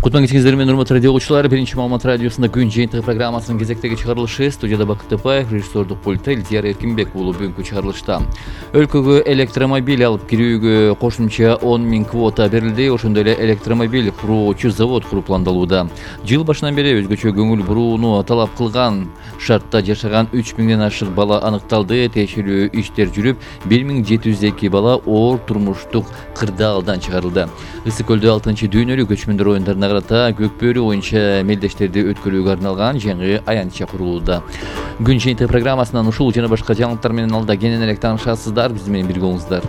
Кутман кечиңиздер менен урматтуу радио угуучулар, биринчи маалымат радиосунда күн жыйынтыгы программасынын кезектеги чыгарылышы. Студияда Бакыт Тапаев, режиссердук пультта Илтияр Эркинбек уулу. Бүгүнкү чыгарылышта өлкөгө электромобиль алып кирүүгө кошумча 10 000 квота берилди. Ошондой эле электромобиль куруучу завод куруу пландалууда. Жыл башынан бери өзгөчө көңүл бурууну талап кылган шартта жашаган 3 000ден ашык бала аныкталды. Тиешелүү иштер жүрүп, 1702 бала оор турмуштук кырдаалдан чыгарылды. Ысык көлдө 6-дүйнөлүк көчмөндөр оюндарына карата көк бөрү боюнча мелдештерди өткөрүүгө арналган жаңы аянтча курулууда. Күн жыйынтыгы программасынан ушул жана башка жаңылыктар менен алда кенен элек таанышасыздар. Биз менен бирге болуңуздар.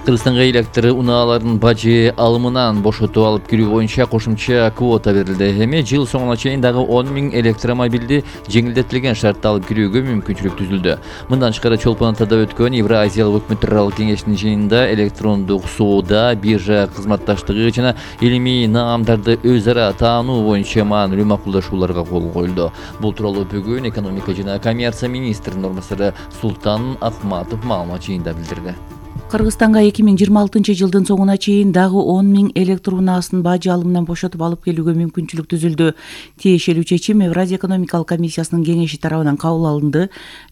Кыргызстанга электр унааларын бажы алымынан бошотуп алып кирүү боюнча кошумча квота берилди. Эми жыл соңуна чейин дагы 10 000 электромобилди жеңилдетилген шартта алып кирүүгө мүмкүнчүлүк түзүлдү. Мындан тышкары Чолпон Атада өткөн Евразиялык өкмөттөр аралык кеңештин жыйынында электрондук соода, биржа кызматташтыгы жана илимий наамдарды өз ара таануу боюнча маанилүү макулдашууларга кол коюлду. Бул тууралуу бүгүн экономика жана коммерция министринин орун басары Султан Ахматов маалымат жыйында билдирди. Кыргызстанга 2026 жылдын соңуна чейин дагы 10 000 электр унаасын бажы алымынан бошотуп алып келүүгө мүмкүнчүлүк түзүлдү. Тиешелүү чечим Евразия экономикалык комиссиясынын кеңеши тарабынан кабыл алынды.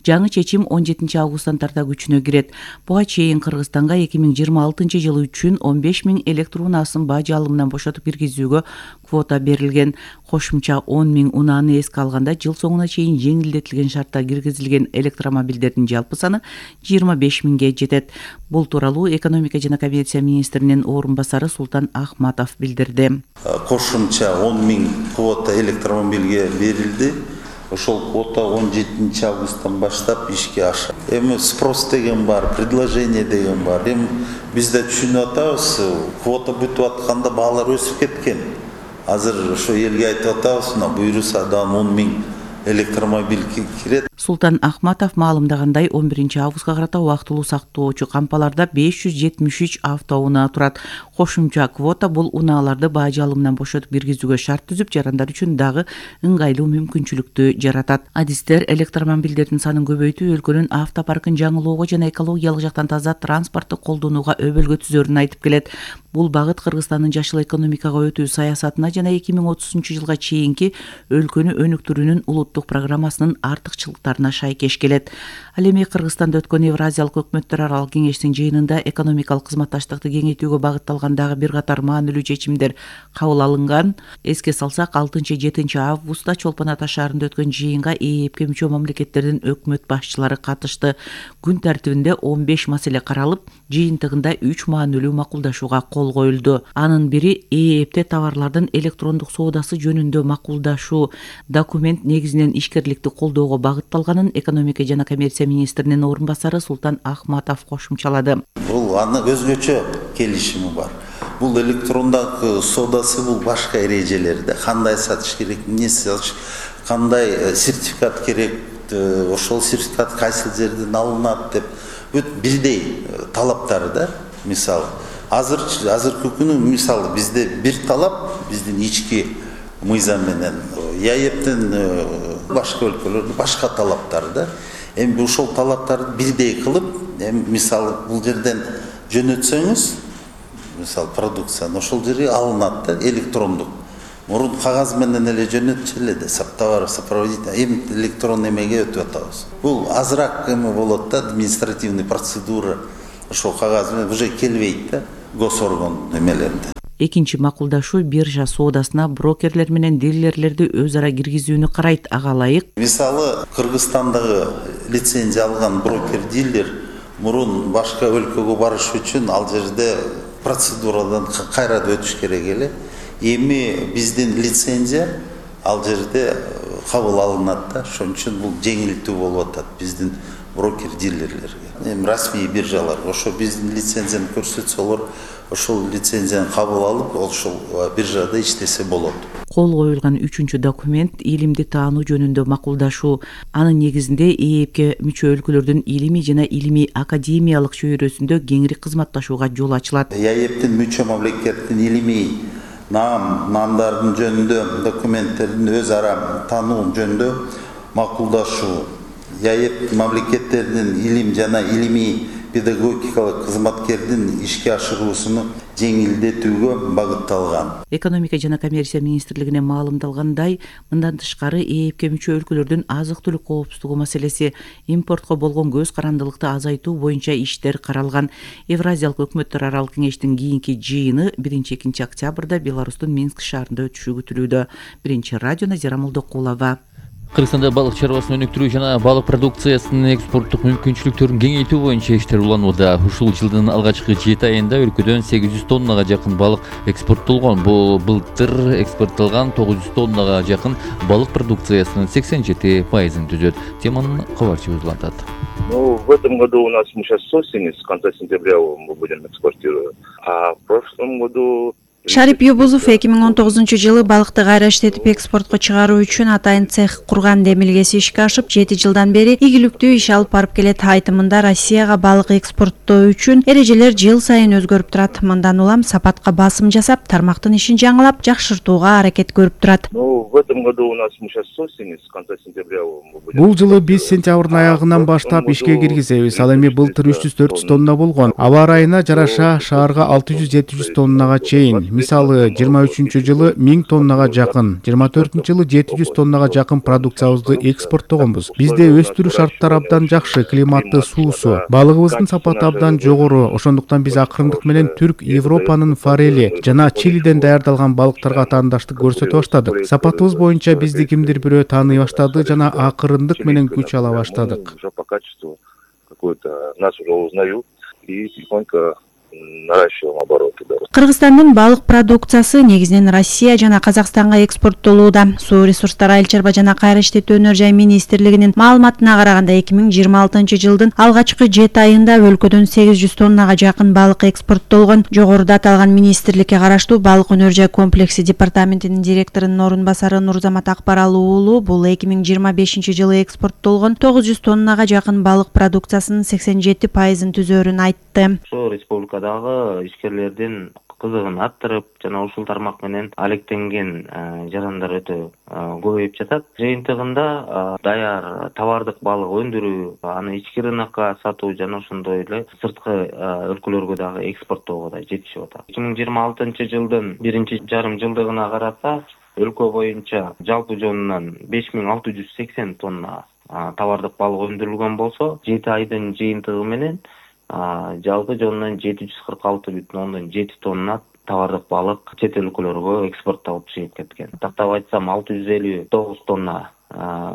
Жаңы чечим 17 августтан тарта күчүнө кирет. Буга чейин Кыргызстанга 2026 жылы үчүн 15 000 электр унаасын бажы алымынан бошотуп киргизүүгө квота берилген. Кошумча 10 000 унааны эске алганда жыл соңуна чейин жеңилдетилген шартта киргизилген электромобилдердин жалпы саны 25 000ге жетет. Бул тууралуу экономика жана коммерция министринин орун басары Султан Ахматов билдирди. Кошумча 10 000 квота электромобилге берилди. Ошол квота 17 августтан баштап ишке ашат. Эми спрос деген бар, предложение деген бар. Эми биз да түшүнүп атабыз, квота бүтүп атканда баалар өсүп кеткен. Азыр ошо элге айтып атабыз, буйруса дагы 10 000 электромобиль кирет. Султан Ахматов маалымдагандай 11 августка карата убактылуу сактоочу кампаларда 573 автоунаа турат. Кошумча квота бул унааларды бажы алымынан бошотуп киргизүүгө шарт түзүп, жарандар үчүн дагы ыңгайлуу мүмкүнчүлүктү жаратат. Адистер электромобилдердин санын көбөйтүү өлкөнүн автопаркын жаңылоого жана экологиялык жактан таза транспортты колдонууга өбөлгө түзөрүн айтып келет. Бул багыт Кыргызстандын жашыл экономикага өтүү саясатына жана 2030 жылга чейинки өлкөнү өнүктүрүүнүн улуттук программасынын артыкчылыктарына шайкеш келет. Ал эми Кыргызстанда өткөн Евразиялык өкмөттөр аралык кеңештин жыйынында экономикалык кызматташтыкты кеңейтүүгө багытталган дагы бир катар маанилүү чечимдер кабыл алынган. Эске салсак, 6-7 августта Чолпон Ата шаарында өткөн жыйынга ЭЭПке мүчө мамлекеттердин өкмөт башчылары катышты. Күн тартибинде 15 маселе каралып, жыйынтыгында 3 маанилүү макулдашууга кол коюлду. Анын бири ЭЭПте товарлардын электрондук соодасы жөнүндө макулдашуу. Документ негизинен ишкерликти колдоого багытталганын экономика жана коммерция министринин орун басары Султан Ахматов кошумчалады. Бул аны өзгөчө келишими бар. Бул электрондук соодасы бул башка эрежелерде кандай сатыш керек, эмне сатыш, кандай сертификат керек, ошол сертификат кайсы жерден алынат деп бүт бирдей талаптары да. Мисалы азыркы күнү мисалы бизде бир талап, биздин ички мыйзам менен ЯЭПтин башка өлкөлөрдө башка талаптары да. Эми ошол талаптарды бирдей кылып, эми мисалы бул жерден жөнөтсөңүз, мисалы продукцияны ошол жерге алынат да, электрондук. Мурун кагаз менен эле жөнөтчү да, товар сопроводитель, эми электрон эмеге өтүп атабыз. Бул азыраак эме болот да, административный процедура. Ошол кагаз менен уже келбейт да, госорган эмелерде. Экинчи макулдашуу биржа соодасына брокерлер менен дилерлерди өз ара киргизүүнү карайт. Ага ылайык. Мисалы Кыргызстандагы лицензия алган брокер-дилер мурун башка өлкөгө барыш үчүн ал жерде процедурадан кайра өтүш керек эле. Эми биздин лицензия ал жерде кабыл алынат да. Ошон үчүн бул жеңилдүү болуп атат биздин брокер-дилерлерге. Эми расмий биржалар ошо биздин лицензияны көрсөтсө, алар ошол лицензияны кабыл алып, ошол биржада иштесе болот. Кол коюлган 3-чү документ илимди таануу жөнүндө макулдашуу. Анын негизинде ЭЭПке мүчө өлкөлөрдүн илимий жана илимий академиялык чөйрөсүндө кеңири кызматташууга жол ачылат. ЯЭПтин мүчө мамлекеттин илимий наамдардын жөнүндө документтердин өз ара таануу жөнүндө макулдашуу. ЯЭП мамлекеттердин илим жана илимий педагогикалык кызматкердин ишке ашыруусуну жеңилдетүүгө багытталган. Экономика жана коммерция министрлигине маалымдалгандай, мындан тышкары ээпке мүчө өлкөлөрдүн азык-түлүк коопсуздугу маселеси, импортко болгон көз карандылыкты азайтуу боюнча иштер каралган. Евразиялык өкмөттөр аралык кеңештин кийинки жыйыны 1-2 октябрда Беларустун Минск шаарында өтүшү күтүлүүдө. Биринчи радио Назира Молдокулова. Кыргызстанда балык чарбасын өнүктүрүү жана балык продукциясынын экспорттук мүмкүнчүлүктөрүн кеңейтүү боюнча иштер уланууда. Ушул жылдын алгачкы 7 айында өлкөдөн 800 тоннага жакын балык экспорттолгон. Бул былтыр экспорттолгон 900 тоннага жакын балык продукциясынын 87%-ын түзөт. Теманын кабарчыбыз улантат. В этом году у нас мы сейчас с осени, с конца сентября мы будем экспортировать. А в прошлом году Шарип Юбузов 2019-жылы балыкты кайра иштетип экспортко чыгаруу үчүн атайын цех курган демилгеси ишке ашып, 7 жылдан бери ийгиликтүү иш алып барып келет. Айтымында Россияга балык экспорттоо үчүн эрежелер жыл сайын өзгөрүп турат. Мындан улам сапатка басым жасап, тармактын ишин жаңылап, жакшыртууга аракет көрүп турат. в этом году у нас мы сейчас с осени, с конца сентября мы будем. Бул жылы биз сентябрдын аягынан баштап ишке киргизебиз. Ал эми былтыр 300-400 тонна болгон. Аба ырайына жараша шаарга 600-700 тоннага чейин. Мисалы 23-жылы 1000 тоннага жакын, 24-жылы 700 тоннага жакын продукциябызды экспорттогонбуз. Бизде өстүрүү шарттары абдан жакшы, климаты суусу, балыгыбыздын сапаты абдан жогору. Ошондуктан биз акырындык менен Түрк, Европанын форели жана Чилиден даярдалган балыктарга таандаштык көрсөтө баштадык. Сапатыбыз боюнча бизди кимдир бирөө тааный баштады жана акырындык менен күч ала баштадык. Уже по качеству какое-то нас уже узнают и тихонько наращиваем обороты. Кыргызстандын балык продукциясы негизинен Россия жана Казакстанга экспорттолууда. Суу ресурстары айыл чарба жана кайра иштетүү өнөр жай министрлигинин маалыматына караганда 2026-жылдын алгачкы 7 айында өлкөдөн 800 тоннага жакын балык экспорттолгон. Жогоруда аталган министрликке караштуу балык өнөр жай комплекси департаментинин директорунун орун басары Нурзамат Акбаралы уулу бул 2025-жылы экспорттолгон 900 тоннага жакын балык продукциясынын 87%-ын түзөөрүн айтты. Республикадагы ишкерлердин кызыгын арттырып жана ушул тармак менен алектенген жарандар өтө көбөйүп жатат. Жыйынтыгында даяр товардык балык өндүрүү, аны ички рынокко сатуу жана ошондой эле сырткы өлкөлөргө дагы экспорттоого да жетишип атат. 2026-жылдын биринчи жарым жылдыгына караса өлкө боюнча жалпы жонунан 5680 тонна товардык балык өндүрүлгөн болсо, 7 айдын жыйынтыгы менен жалпы жонунан 746,7 тонна товардык балык чет өлкөлөргө экспорттолуп чыгып кеткен. Тактап айтсам 659 тонна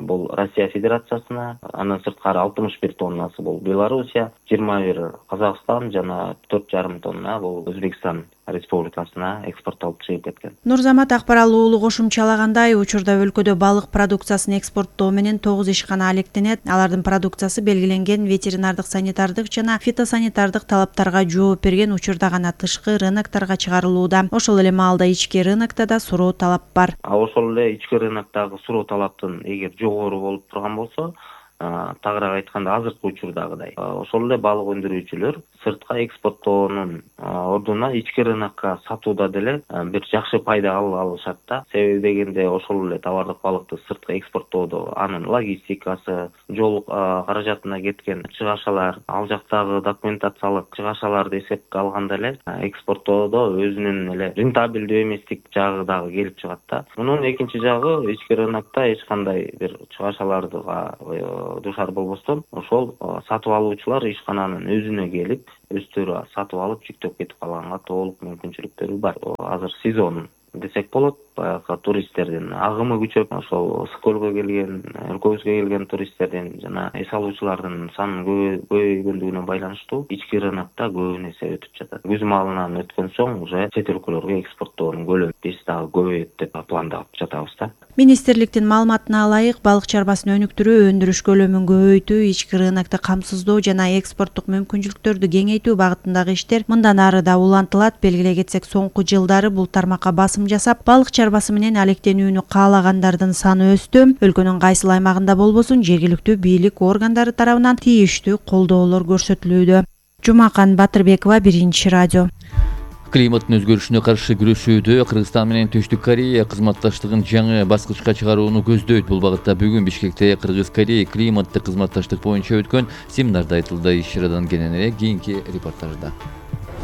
бул Россия Федерациясына, андан сырткары 61 тоннасы бул Белоруссия, 21 Казакстан жана 4,5 тонна бул Өзбекстан Республикасына экспорттолуп чыгып кеткен. Нурзамат Акбаралы уулу кошумчалагандай, учурда өлкөдө балык продукциясын экспорттоо менен 9 ишкана алектенет. Алардын продукциясы белгиленген ветеринардык, санитардык жана фитосанитардык талаптарга жооп берген учурда гана тышкы рынокторго чыгарылууда. Ошол эле маалда ички рынокто да суроо талап бар. Ошол эле ички рыноктогу суроо талаптын эгер жогору болуп турган болсо, тагыраак айтканда азыркы учурдагыдай ошол эле балык өндүрүүчүлөр сыртка экспорттоонун ордуна ички рынокко сатууда деле бир жакшы пайда алышат да. Себеби дегенде ошол эле товардык балыкты сыртка экспорттоодо анын логистикасы, жол каражатына кеткен чыгашалар, ал жактагы документациялык чыгашаларды эсепке алганда эле экспорттоодо өзүнүн эле рентабелдүү эместик жагы дагы келип чыгат да. Мунун экинчи жагы ички рынокто эч кандай бир чыгашаларга душар болбостон ошол сатып алуучулар ишкананын өзүнө келип, өздөрү сатып алып жүктөп кетип калганга толук мүмкүнчүлүктөрү бар. Азыр сезон десек болот, баягы туристтердин агымы күчөп, ошол Ысык көлгө келген, өлкөбүзгө келген туристтердин жана эс алуучулардын санынын көбөйгөндүгүнө байланыштуу ички рынокто көбүн эсе өтүп жатат. Күз маалынан өткөн соң уже чет өлкөлөргө экспорттоонун көлөмү биз дагы көбөйөт деп пландап жатабыз да. Министрликтин маалыматына ылайык, балык чарбасын өнүктүрүү, өндүрүш көлөмүн көбөйтүү, ички рынокто камсыздоо жана экспорттук мүмкүнчүлүктөрдү кеңейтүү багытындагы иштер мындан ары да улантылат. Белгилей кетсек, соңку жылдары бул тармакка басым жасап, балык чарбасы менен алектенүүнү каалагандардын саны өстү. Өлкөнүн кайсыл аймагында болбосун, жергиликтүү бийлик органдары тарабынан тийиштүү колдоолор көрсөтүлүүдө. Жумакан Батырбекова, Биринчи радио. Климаттын өзгөрүшүнө каршы күрөшүүдө Кыргызстан менен Түштүк Корея кызматташтыгын жаңы баскычка чыгарууну көздөйт. Бул багытта бүгүн Бишкекте Кыргыз-Корея климаттык кызматташтык боюнча өткөн семинарда айтылды. Иш чарадан кененирээк кийинки репортажда.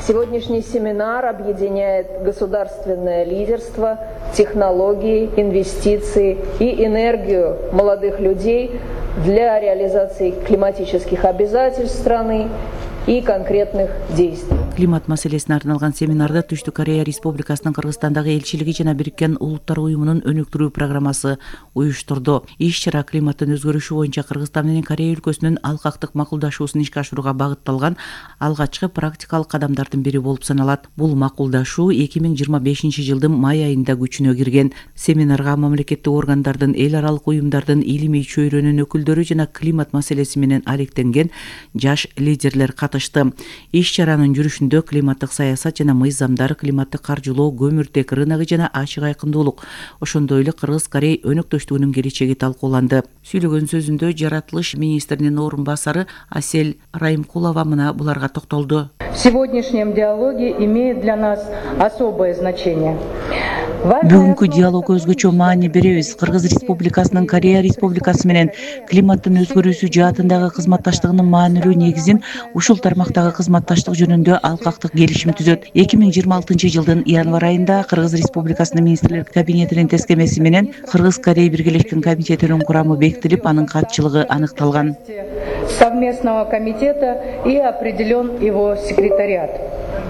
Сегодняшний семинар объединяет государственное лидерство, технологии, инвестиции и энергию молодых людей для реализации климатических обязательств страны и конкретных действий. Климат маселесине арналган семинарда Түштүк Корея Республикасынын Кыргызстандагы элчилиги жана Бириккен Улуттар уюмунун өнүктүрүү программасы уюштурду. Иш-чара климаттын өзгөрүшү боюнча Кыргызстан менен Корея өлкөсүнүн алкактык макулдашуусун ишке ашырууга багытталган алгачкы практикалык кадамдардын бири болуп саналат. Бул макулдашуу 2025 жылдын май айында күчүнө кирген. Семинарга мамлекеттик органдардын, эл аралык уюмдардын, илимий чөйрөнүн өкүлдөрү жана климат маселеси менен алектенген жаш лидерлер катышты. Иш-чаранын жүрүшүндө климаттык саясат жана мыйзамдар, климаттык каржылоо, көмүртек рыногу жана ачык айкындуулук, ошондой эле Кыргыз-Корей өнөктөштүгүнүн келечеги талкууланды. Сүйлөгөн сөзүндө жаратылыш министринин орун басары Асель Райымкулова мына буларга токтолду. В сегодняшнем диалоге имеет для нас особое значение. Бүгүнкү диалог өзгөчө маани беребиз. Кыргыз Республикасынын Корея Республикасы менен климаттын өзгөрүүсү жаатындагы кызматташтыгынын маанилүү негизин ушул тармактагы кызматташтык жөнүндө алкактык келишим түзөт. 2026 жылдын январь айында Кыргыз Республикасынын министрлер кабинетинин тескемеси менен Кыргыз-Корей биргелешкен комитетинин курамы бекитилип, анын катчылыгы аныкталган. Совместного комитета и определен его секретариат.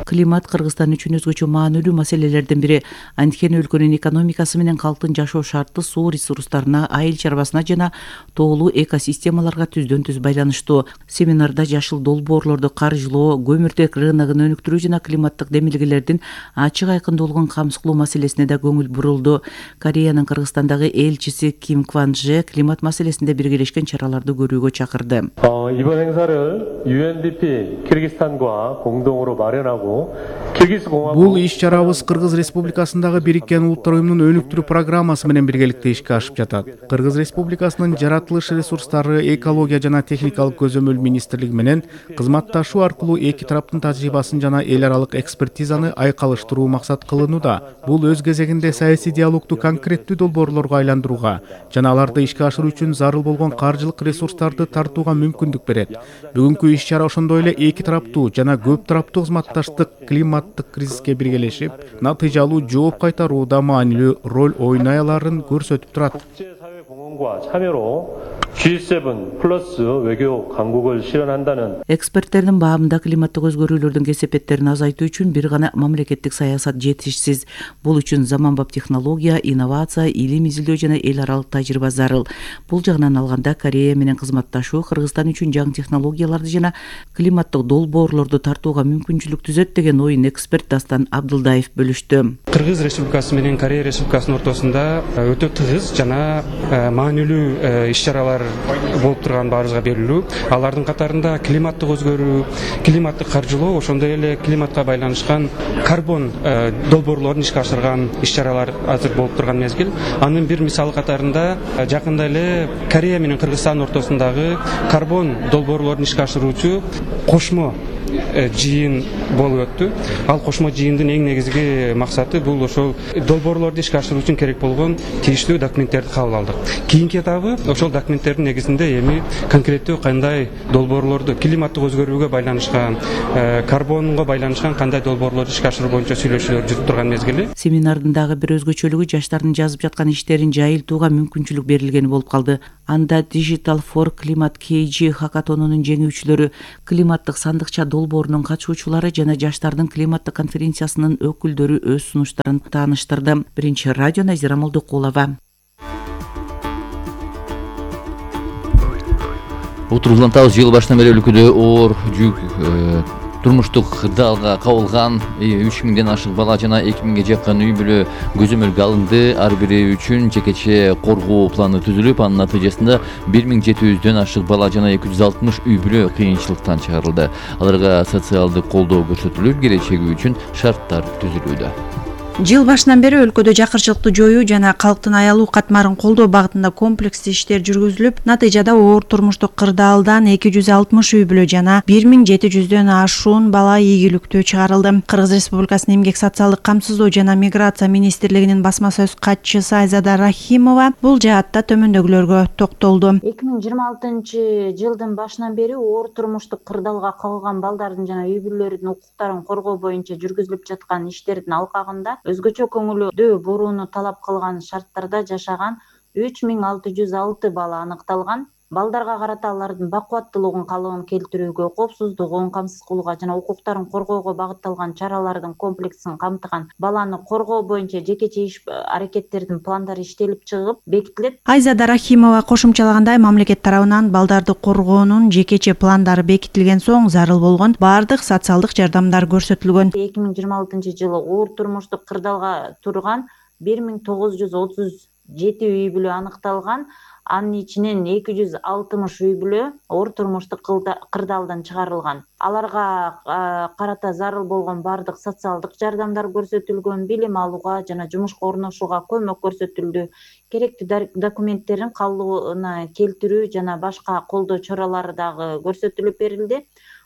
Климат Кыргызстан үчүн өзгөчө маанилүү маселелердин бири. Анткени өлкөнүн экономикасы менен калктын жашоо шарты суу ресурстарына, айыл чарбасына жана тоолуу экосистемаларга түздөн-түз байланыштуу. Семинарда жашыл долбоорлорду каржылоо, көмүртек рыногун өнүктүрүү жана климаттык демилгелердин ачык айкындуулугун камсыз кылуу маселесине да көңүл бурулду. Кореянын Кыргызстандагы элчиси Ким Кван Же климат маселесинде биргелешкен чараларды көрүүгө чакырды. 이번 행사를 UNDP 키르기스탄과 공동으로 마련하고 Бул иш-чарабыз Кыргыз Республикасындагы Бириккен Улуттар уюмунун өнүктүрүү программасы менен биргеликте ишке ашып жатат. Кыргыз Республикасынын жаратылыш ресурстары, экология жана техникалык көзөмөл министрлиги менен кызматташуу аркылуу эки тараптын тажрыйбасын жана эл аралык экспертизаны айкалыштыруу максат кылынууда. Бул өз кезегинде саясий диалогду конкреттүү долбоорлорго айландырууга жана аларды ишке ашыруу үчүн зарыл болгон каржылык ресурстарды тартууга мүмкүндүк берет. Бүгүнкү иш-чара ошондой эле эки тараптуу жана көп тараптуу кызматташтык климаттык кризиске биргелешип, натыйжалуу жооп кайтарууда маанилүү роль ойной аларын көрсөтүп турат. G7 플러스 외교 강국을 실현한다는 Эксперттердин баамында климаттык өзгөрүүлөрдүн кесепеттерин азайтуу үчүн бир гана мамлекеттик саясат жетишсиз. Бул үчүн заманбап технология, инновация, илим изилдөө жана эл аралык тажрыйба зарыл. Бул жагынан алганда Корея менен кызматташуу Кыргызстан үчүн жаңы технологияларды жана климаттык долбоорлорду тартууга мүмкүнчүлүк түзөт деген оюн эксперт Дастан Абдылдаев бөлүштү. Кыргыз Республикасы менен Корея Республикасынын ортосунда өтө тыгыз жана маанилүү иш-чаралар болуп турган баарыбызга белгилүү. Алардын катарында климаттык өзгөрүү, климаттык каржылоо, ошондой эле климатка байланышкан карбон долбоорлорун ишке ашырган иш-чаралар азыр болуп турган мезгил. Анын бир мисалы катарында жакында эле Корея менен Кыргызстан ортосундагы карбон долбоорлорун ишке ашыруучу кошмо жыйын болуп өттү. Ал кошмо жыйындын эң негизги максаты бул ошол долбоорлорду ишке ашыруу үчүн керек болгон тийиштүү документтерди кабыл алдык. Кийинки этабы ошол документтердин негизинде эми конкреттүү кандай долбоорлорду климаттык өзгөрүүгө байланышкан, карбонго байланышкан кандай долбоорлорду ишке ашыруу боюнча сүйлөшүүлөр жүрүп турган мезгили. Семинардын дагы бир өзгөчөлүгү жаштардын жазып жаткан иштерин жайылтууга мүмкүнчүлүк берилгени болуп калды. Анда Digital for Climate KG хакатонунун жеңүүчүлөрү, климаттык сандыкча долбоорунун катышуучулары жана жаштардын климаттык конференциясынын өкүлдөрү өз сунуштарын тааныштырды. Биринчи радио Назира Молдукулова. Утурулантабыз жыл башынан бери өлкөдө оор жүк турмуштук далга кабылган 3000ден ашык бала жана 2000ге жакын үй бүлө көзөмөлгө алынды. Ар бири үчүн жекече коргоо планы түзүлүп, анын натыйжасында 1700дөн ашык бала жана 260 үй бүлө кыйынчылыктан чыгарылды. Аларга социалдык колдоо көрсөтүлүп, келечеги үчүн шарттар түзүлүүдө. Жыл башынан бери өлкөдө жакырчылыкты жоюу жана калктын аялуу катмарын колдоо багытында комплекстүү иштер жүргүзүлүп, натыйжада оор турмуштук кырдаалдан 260 үй бүлө жана 1700дөн ашуун бала ийгиликтүү чыгарылды. Кыргыз Республикасынын эмгек социалдык камсыздоо жана миграция министрлигинин басма сөз катчысы Айзада Рахимова бул жаатта төмөндөгүлөргө токтолду. 2026-жылдын башынан бери оор турмуштук кырдаалга кагылган балдардын жана үй бүлөлөрдүн укуктарын коргоо боюнча жүргүзүлүп жаткан иштердин алкагында өзгөчө көңүлдүү бурууну талап кылган шарттарда жашаган 3606 бала аныкталган. Балдарга карата алардын бакубаттуулугун калыбын келтирүүгө, коопсуздугун камсыз кылууга жана укуктарын коргоого багытталган чаралардын комплексин камтыган баланы коргоо боюнча жекече иш аракеттердин пландары иштелип чыгып бекитилет. Айзада Рахимова кошумчалагандай, мамлекет тарабынан балдарды коргоонун жекече пландары бекитилген соң зарыл болгон баардык социалдык жардамдар көрсөтүлгөн. 2026-жылы оор турмуштук кырдаалга турган 1937 үй бүлө аныкталган. Анын ичинен 260 үй бүлө оор турмуштук кырдаалдан чыгарылган. Аларга карата зарыл болгон баардык социалдык жардамдар көрсөтүлгөн, билим алууга жана жумушка орношууга көмөк көрсөтүлдү. Керектүү документтерин калыбына келтирүү жана башка колдоо чаралары дагы көрсөтүлүп берилди.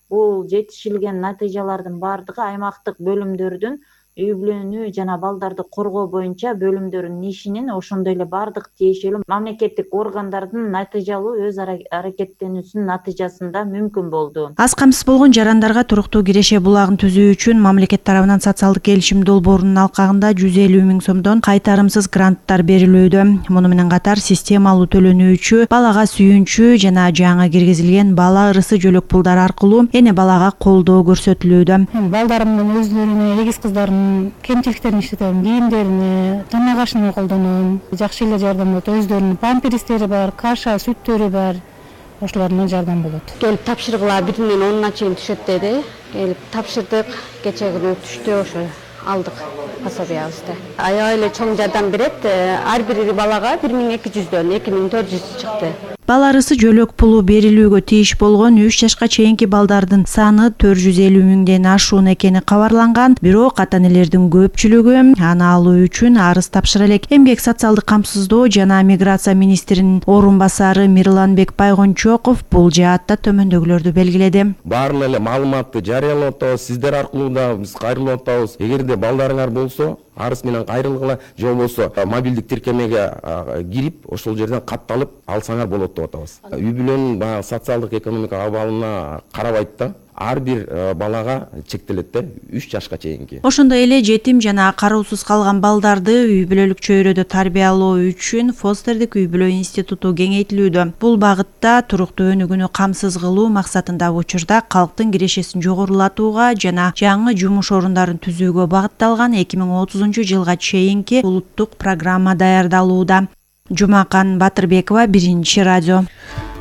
Бул жетишилген натыйжалардын баардыгы аймактык бөлүмдөрдүн үй бүлөнү жана балдарды коргоо боюнча бөлүмдөрүнүн ишинин, ошондой эле баардык тиешелүү мамлекеттик органдардын натыйжалуу өз аракеттенүүсүнүн натыйжасында мүмкүн болду. Аз камсыз болгон жарандарга туруктуу киреше булагын түзүү үчүн мамлекет тарабынан социалдык келишим долбоорунун алкагында 150 000 сомдон кайтарымсыз гранттар берилүүдө. Муну менен катар системалуу төлөнүүчү, балага сүйүнчү жана жаңы киргизилген бала ырысы жөлөк пулдар аркылуу эне балага колдоо көрсөтүлүүдө. Балдарымдын өздөрүнө, эгиз кыздардын кемчиликтерин иштетем, кийимдерине, тана кашын колдоном. Жакшы эле жардам болот. Өздөрүнүн памперстери бар, каша, сүттөрү бар. Ошолордон жардам болот. Келип тапшыргыла 1-ден 10-на чейин түшөт деди. Келип тапшырдык. Кече күнү түштү, ошо алдык пособиябызды. Аябай эле чоң жардам берет. Ар бир балага 1200дөн 2400 чыкты. Бала ырысы жөлөк пулу берилүүгө тийиш болгон 3 жашка чейинки балдардын саны 450 000ден ашуун экени кабарланган. Бирок ата-энелердин көпчүлүгү аны алуу үчүн арыз тапшыра элек. Эмгек социалдык камсыздоо жана миграция министринин орун басары Мирланбек Байгончоков бул жаатта төмөндөгүлөрдү белгиледи. Баарын эле маалыматты жарыялап атабыз, сиздер аркылуу да биз кайрылып атабыз. Эгерде балдарыңар болсо, арыз менен кайрылгыла, же болбосо мобилдик тиркемеге кирип, ошол жерден катталып алсаңар болот деп атабыз. Үй бүлөнүн баягы социалдык экономикалык абалына карабайт да, ар бир балага чектелет да, 3 жашка чейинки. Ошондой эле жетим жана кароосуз калган балдарды үй бүлөлүк чөйрөдө тарбиялоо үчүн Фостердик үй бүлө институту кеңейтилүүдө. Бул багытта туруктуу өнүгүүнү камсыз кылуу максатында учурда калктын кирешесин жогорулатууга жана жаңы жумуш орундарын түзүүгө багытталган 2030-жылга чейинки улуттук программа даярдалууда. Жумакан Батырбекова, Биринчи радио.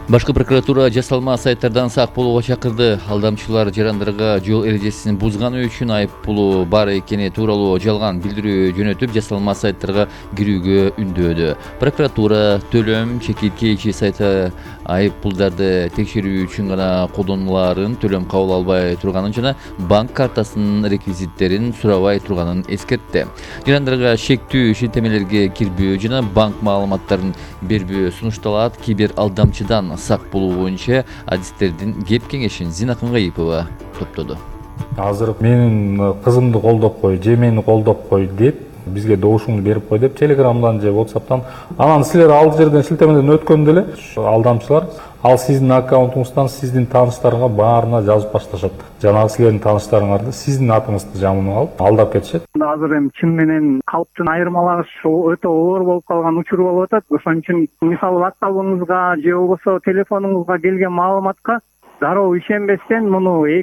Башкы прокуратура жасалма сайттардан сак болууга чакырды. Алдамчылар жарандарга жол эрежесин бузганы үчүн айып пулу бар экени тууралуу жалган билдирүү жөнөтүп, жасалма сайттарга кирүүгө үндөөдү. Прокуратура төлөм чекиткейчи сайты айып пулдарды текшерүү үчүн гана колдонуларын, төлөм кабыл албай турганын жана банк картасынын реквизиттерин сурабай турганын эскертти. Жарандарга шектүү шилтемелерге кирбөө жана банк маалыматтарын бербөө сунушталат. Кибер алдамчыдан сак болуу боюнча адистердин кеп кеңешин Зина Кыңгаипова топтоду. Азыр менин кызымды колдоп кой, же мени колдоп кой деп бизге добушуңду берип кой деп Телеграмдан же WhatsApp'тан анан силер ал жерден шилтемеден өткөндө эле алдамчылар ал сиздин аккаунтуңуздан сиздин тааныштарга баарына жазып башташат. Жанагы силердин тааныштарыңарды сиздин атыңызды жамынып алып алдап кетишет. Азыр эми чын менен калктын айырмалагыш өтө оор болуп калган учур болуп атат. Ошон үчүн мисалы WhatsApp'ыңызга же болбосо телефонуңузга келген маалыматка дароо ишенбестен муну